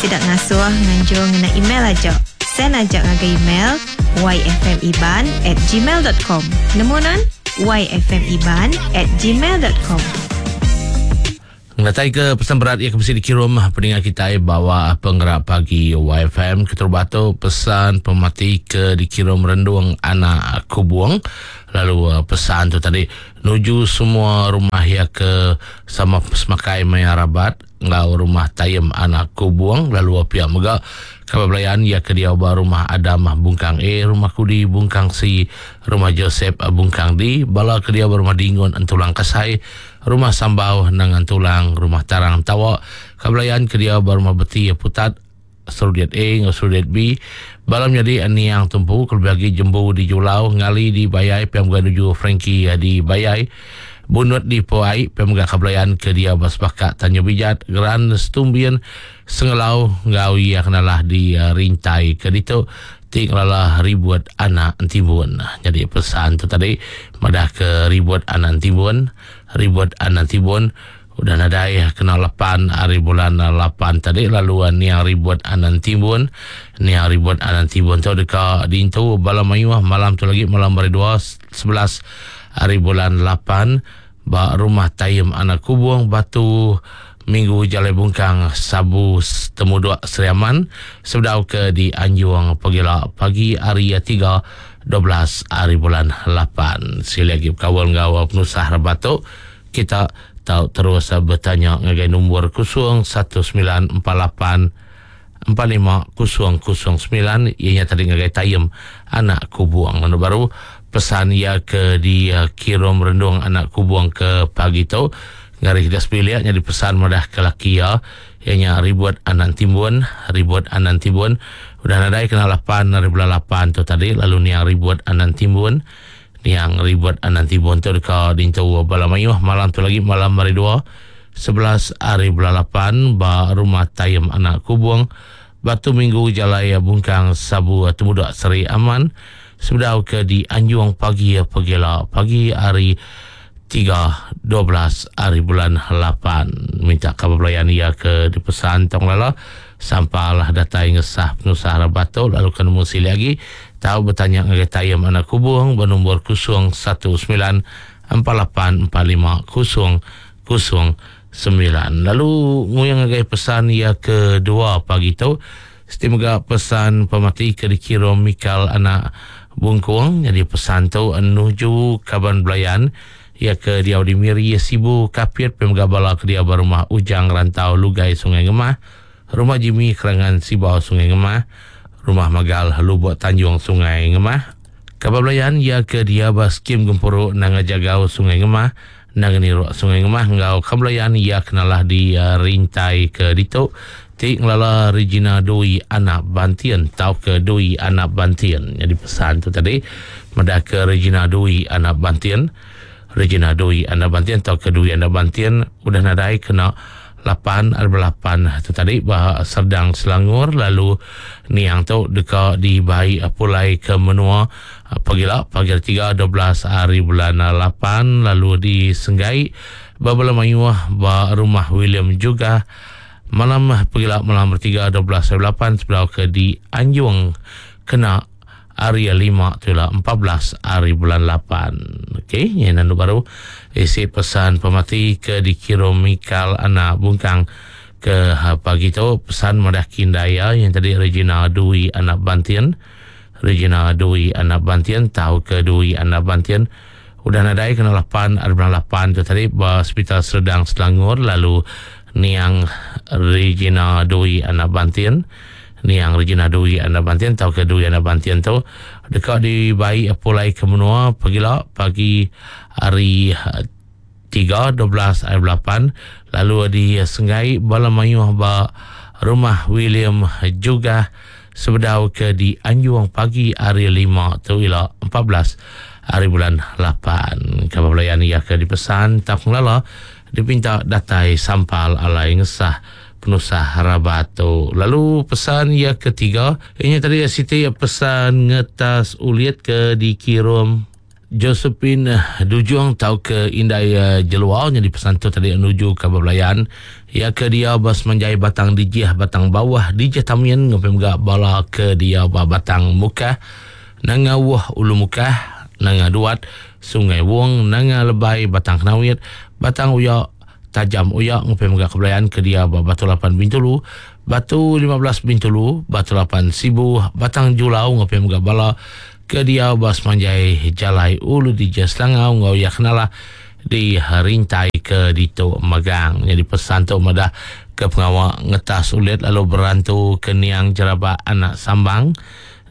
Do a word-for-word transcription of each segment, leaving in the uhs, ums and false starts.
Sida ngasuh nganjung ngena email aja. Send aja ngagai email yfmiban at gmail dot com. Nemu nan? yfmiban at gmail dot com. Ngatai ke pesan berat ia ke mesti dikirim pendengar kita bawa penggerak pagi Y F M keterubah tu pesan pemati ke dikirim rendung anak kubung. Lalu pesan tu tadi nuju semua rumah ia ke sama semakai maya rabat ngau rumah tayem anak kubung. Lalu pihak mega kabar belayan ia ke dia ba rumah Adam Bungkang A, rumah Kudi Bungkang C, rumah Joseph Bungkang D, bala ke dia ba rumah Dingun Entulang Kasai, rumah Sambau Nangan Tulang, rumah Tarang Tawa, kabelayan ke dia ba rumah Beti Putat, Serudiat A ngau Serudiat B, balam jadi aniang tumpu kelebih lagi jembu di Julau, ngali di Bayai, piam ga nuju Frankie di Bayai, Bunut di Poai, piam ga kabelayan ke dia ba Sepakat Tanjung Bijat, Geran Setumbian, Sengelau ngau ia kenalah di uh, Rintai ke ditu ti ngelalah ribut anak Timbun. Jadi pesan tu tadi madah ke ribut anak Timbun, ribut anak Timbun udah nadai kena lapan hari bulan lapan tadi lalu niang ribut anak Timbun, niang ribut anak Timbun tu deka dintu bala mayuh malam tu lagi malam hari dua sebelas hari bulan lapan ba rumah Tayem anak Kubung Batu Minggu Jalai Bungkang Sabu Temuduk Seriaman sebedau ke di Anjung Pegila pagi hari tiga dua belas hari bulan lapan. Sekali lagi berkawal ngau penusah rabat tu kita tahu terus bertanya ngagai nombor kosong satu sembilan empat lapan empat lima kosong kosong sembilan ianya tadi ngagai Tayem anak Kubuang. Mana baru pesan ia ke di kirim rendung anak Kubuang ke pagi tu ngari kita sepiliak jadi pesan madah ke laki ya ianya ribut anak Timbun, ribut anak Timbun udah nadai kena lapan hari bulan lapan tu tadi lalu niang ribut anak Timbun, niang ribut anak Timbun tu dekat dintu bala mayuh malam tu lagi malam hari dua sebelas hari bulan lapan ba rumah Tayem anak Kubung Batu Minggu Jalai Bungkang Sabu Temudak Seri Aman sebedau ke di Anjung pagi pegila pagi hari tiga dua belas hari bulan lapan. Minta kabar pelayan ia ke dipesan tong lala sampalah datai ngesah penusah rabato lalu kena musi lagi tahu bertanya ngagai Tayem anak Kubung bernombor kosong satu sembilan empat lapan empat lima kosong kosong sembilan. Lalu nguyang ngagai pesan ia kedua pagi tu semoga pesan pemati ke dikirim Mikal anak Bungkung. Jadi pesan tu menuju kaban belayan ia ke dia di Miri Sibu Kapit pemga bala ke dia berumah Ujang Rantau Lugai Sungai Ngemah, rumah Jimmy Kerangan Sibau Sungai Ngemah, rumah Magal Lubuk Tanjung Sungai Ngemah. Kabar belayan ia ke dia baskim Gempuruk Nanga Jagau Sungai Ngemah, Nanga Niruk Sungai Ngemah ngau kabelayan ia kenalah di uh, Rintai ke Ditok ti ngelala Regina Dui anak Bantian tau ke Dui anak Bantian. Jadi pesan tu tadi madah ke Regina Dui anak Bantian, Regina Dui anak Bantian tau ke Dui anak Bantian udah nadai kena lapan arba lapan tu tadi bah Serdang Selangor lalu niang tu deka dibai pulai ke menua pagila pagi tiga dua belas hari bulan lapan lalu di Senggai babala mayuh ba rumah William juga malam pagila malam tiga dua belas hari lapan sebelah ke di Anjung kena hari lima tu lah empat belas hari bulan lapan. Okey, yang nandu baru isi pesan pemati ke dikirim Mikal anak Bungkang ke pagi tu pesan madah kindaya yang tadi Regina Dui anak Bantian, Regina Dui anak Bantian tahu ke Dui anak Bantian udah nadai kena lapan hari bulan lapan tu tadi ba Hospital Serdang Selangor lalu niang Regina Dui anak Bantian, niang Regina Dui anak Bantian tau ke Dui anak Bantian tu dekat dibai pulai ke menua pagila pagi hari tiga dua belas hari lapan lalu di Sengai bala mayuh ba rumah William juga sebedau ke di Anjung pagi hari lima tu ila empat belas hari bulan lapan. Kabar belayan ia ke dipesan tak ngelala dipinta datai sampal alai ngesah penusah rabato. Lalu pesan ia ketiga ini tadi Siti pesan ngetas ulit ke dikirim Josephine Dujung tau ke Indai Jelua jadi pesan tu tadi menuju ke belayan ya ke dia bas menjai batang dijih batang bawah dijih tamin ngopi mega bala ke dia ba batang Mukah nanga Wuh Ulu Mukah nanga Duat Sungai Wong nanga Lebai batang Kenawit batang Uya Tajam Uya ngopi mega ke belayan ke dia ba Batu Lapan Bintulu Batu lima belas Bintulu Batu Lapan Sibu batang Julau ngopi mega bala ke dia bas manjai jalai Ulu Dijah Selangau ngau ya kenalah di rintai ke ditu magang. Jadi pesan tu madah ke pengawak ngetas ulit lalu berantu ke niang jerabak anak sambang.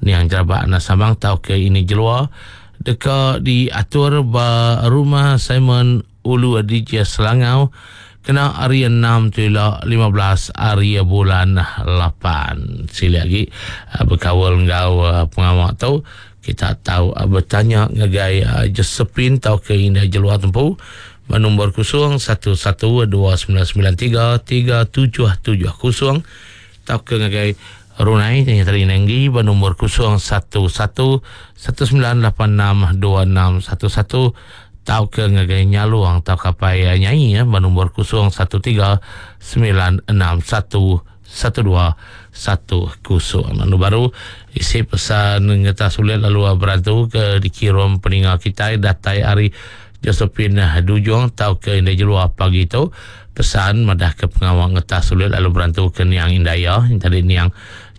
Niang jerabak anak sambang tau ke ini jelua deka diatur ba rumah Simon Ulu Dijah Selangau kena hari enam tu ila lima belas hari bulan lapan. Sila lagi berkawal ngau pengawak tu kita tahu bertanya ngagai Josephine tau ke Indai Jelua tempu nombor kosong satu satu dua sembilan sembilan tiga tiga tujuh tujuh kosong tau ke ngagai Runai yang tadi nenggi bernombor kosong satu satu satu sembilan lapan enam dua enam satu satu tau ke ngagai Nyaluang tau kapai nyai ya bernombor kosong satu tiga sembilan enam satu satu dua satu kosong. Lalu baru isi pesan ngetas sulit lalu berantu ke dikirim peningal kita datai hari Josephine Dujung tau ke Indai Jelua pagi tu pesan madah ke pengawal ngetas sulit lalu berantu ke niang Indaya yang tadi niang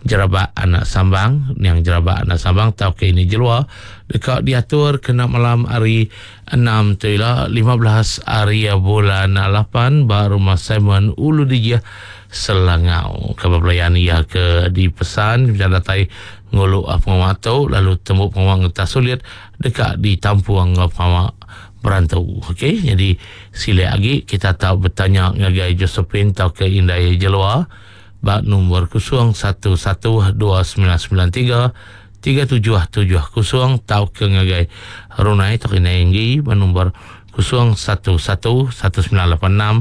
jerabak anak sambang niang jerabak anak sambang tau ke ini Jelua dekat diatur kena malam hari enam tu ila lima belas hari bulan lapan ba rumah Simon Ulu Dijah Selangau. Khabar pelayan ia ke dipesan macam datai nguluk pengawal tu lalu temu pengawal ngetas sulit dekat ditampung pengawal berantu. Okey, jadi sila lagi kita tahu bertanya ngagai Josephine tau ke Indai Jelua bak nombor kosong satu satu dua sembilan sembilan tiga tiga tujuh tujuh kosong tau ke ngagai Runai tau ke Indai bak nombor kosong satu satu satu sembilan lapan enam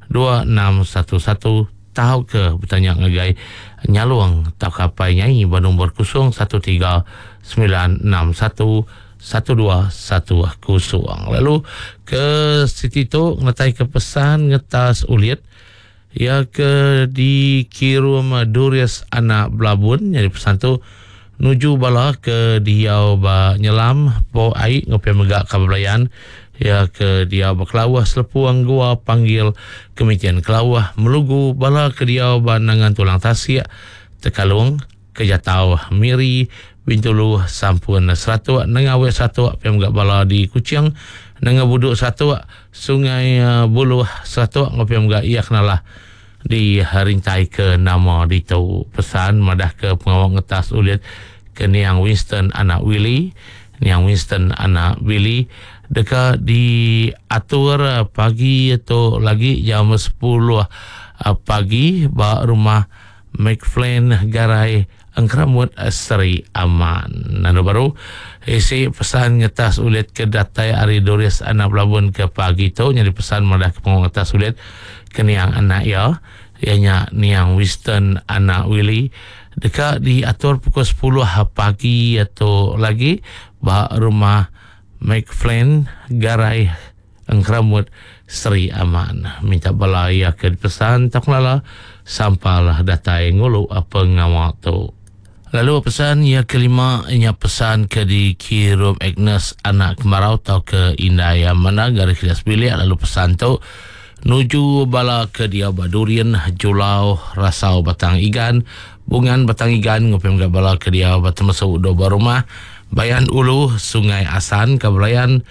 dua enam satu satu tau ke bertanya ngagai Nyaluang tau kapai nyai bak nombor kosong satu tiga sembilan enam satu satu dua satu kosong. Lalu ke siti tu ngetai ke pesan ngetas ulit ya ke dikirim Durius anak Belabun. Jadi pesan tu nuju bala ke diau ba nyelam po ai ngopi megak ka belayan ya ke diau ba Kelawah Selepuang Gua panggil Kemitian Kelawah Melugu bala ke diau ba Nangan Tulang Tasik Tekalung Kejatau Miri Bintulu Sampun Seratuk Nengawe Seratuk pem gak bala di Kuching Nengah Buduk Seratuk Sungai Buluh Seratuk ngopi gak ia kenalah di rintai ke nama di tu pesan madah ke pengawal ngetas ulit ke niang Winston anak Willy niang Winston anak Willy dekat diatur pagi atau lagi jam sepuluh pagi ba rumah McFlane Garai Engkeramut Seri Aman. Nanu baru isi pesan ngetas ulit ke datai ari Doris anak Belabun ke pagi tu nyari pesan madah ke pengawal ngetas ulit ke niang anak ya ianya niang Winston anak Willy dekat diatur pukul sepuluh pagi atau lagi ba rumah McFlane Garai Engkeramut Seri Aman. Minta bala ia ke pesan tak lala sampalah datai ngulu apa ngawak tu. Lalu pesan yang kelima inya pesan ke dikirim Agnes anak Kemarau atau ke Indai Mana garis kilas bilik. Lalu pesan tu nuju bala ke dia Badurian Julau Rasau Batang Igan Bungan Batang Igan ngopi mga bala ke dia Batemesu Doba Rumah Bayan Ulu Sungai Asan Kabelayan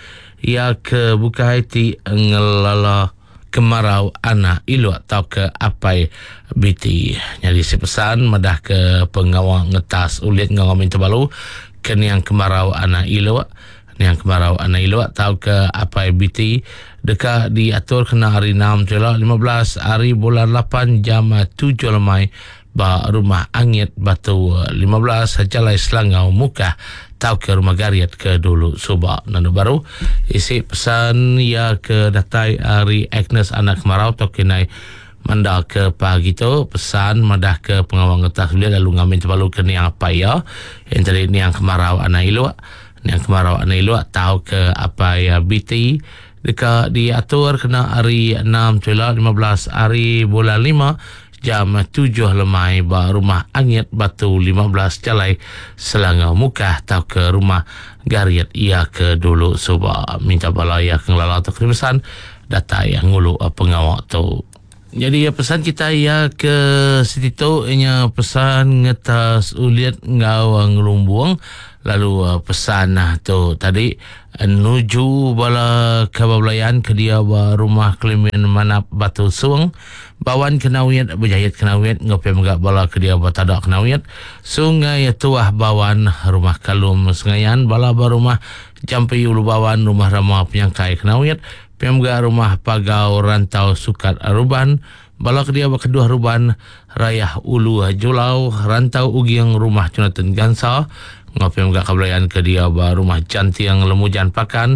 ia ke Bukai ti ngelala Kemarau anak ilu atau ke apai biti. Jadi si pesan madah ke pengawal ngetas ulit ngau minta balu ke niang Kemarau anak ilu niang Kemarau anak ilu atau ke apai biti dekat diatur kena hari enam jela lima belas hari bulan lapan jam tujuh lemai ba rumah Angit Batu lima belas Jalai Selangau Mukah tau ke rumah Gariat ke dulu subak. Nanu baru isi pesan ya ke datai hari Agnes anak Kemarau tau kinai manda ke pagi tu pesan madah ke pengawal ngetas ulit lalu ngamin terbalu ke niang apa ya yang tadi niang Kemarau anak ilu Yang kemarau anu ilu atau ke apa ya B T deka diatur kena hari enam Jula lima belas hari bulan lima jam tujuh lemai ba rumah Angit Batu lima belas Jalai Selangau Mukah atau ke rumah Gariet ia ke dulu suba. Minta bala ia ke ngelala atau pesan datai yang ngulu pengawak tu. Jadi ya, pesan kita ya ke situ tu ianya pesan ngetas ulit ngau ngelumbung, lalu uh, pesan nah tu tadi uh, nuju bala kabablayan ke dia ba rumah Kelimin Manap Batu Sung Bawan Kenawit Berjayat Kenawit ngopi mega bala ke dia ba Tadak Kenawit Sungai Tuah Bawan, rumah Kalum Sengayan, bala ba rumah Jampi Ulu Bawan, rumah Rama Penyangkai Kenawit, P M G rumah Pagau Rantau Sukat Aruban, bala ke dia ba Kedua Ruban, Rayah Ulu Julau, Rantau Ugiang, rumah Jonathan Gansa, ngopi mega kablayan ke dia ba rumah Jantiang Lemujan Pakan.